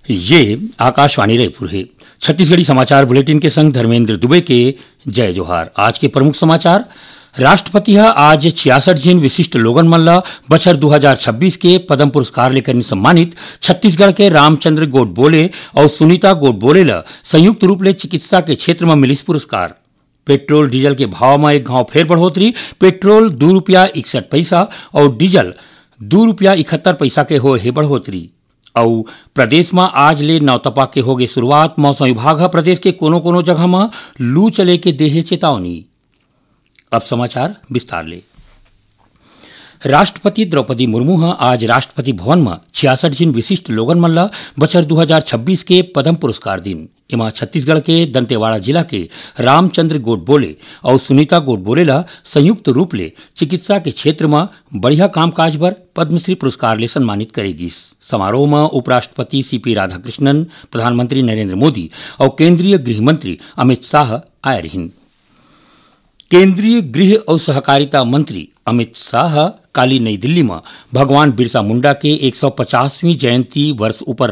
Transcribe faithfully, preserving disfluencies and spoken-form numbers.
ये आकाशवाणी रायपुर हे। छत्तीसगढ़ी समाचार बुलेटिन के संग धर्मेंद्र दुबे के जय जोहार। आज के प्रमुख समाचार। राष्ट्रपति ह आज छियासठ झिन विशिष्ट लोगन मन ल बछर दू हजार छब्बीस के पद्म पुरस्कार ले करिन सम्मानित। छत्तीसगढ़ के रामचंद्र गोडबोले अउ सुनीता गोडबोले ल संयुक्त रूप ले चिकित्सा के क्षेत्र म मिलिस पुरस्कार। पेट्रोल डीजल के भाव म एक घांव फेर बढ़ोतरी। पेट्रोल दू रुपया इकसठ पैसा अउ डीजल दू रुपया इकहत्तर पैसा के होए हे बढ़ोतरी। अउ प्रदेश म आज ले नौतपा के होगे शुरुआत। मौसम विभाग ह प्रदेश के कोनो-कोनो जगह म लू चले के देहे चेतावनी। अब समाचार विस्तार ले। राष्ट्रपति द्रौपदी मुर्मू ह आज राष्ट्रपति भवन म छियासठ झिन विशिष्ट लोगन मन ल बछर दू हजार छब्बीस के पद्म पुरस्कार दिन। एमा छत्तीसगढ़ के दंतेवाड़ा जिला के रामचंद्र गोडबोले अउ सुनीता गोडबोले ल संयुक्त रूप ले चिकित्सा के क्षेत्र म बढ़िया कामकाज बर पद्मश्री पुरस्कार ले सम्मानित करे गिस। समारोह म उपराष्ट्रपति सीपी राधाकृष्णन, प्रधानमंत्री नरेंद्र मोदी अउ केंद्रीय गृह मंत्री अमित शाह आए रहिन। केंद्रीय गृह अउ सहकारिता मंत्री अमित शाह काली नई दिल्ली म भगवान बिरसा मुंडा के एक सौ पचासवीं जयंती वर्ष उपर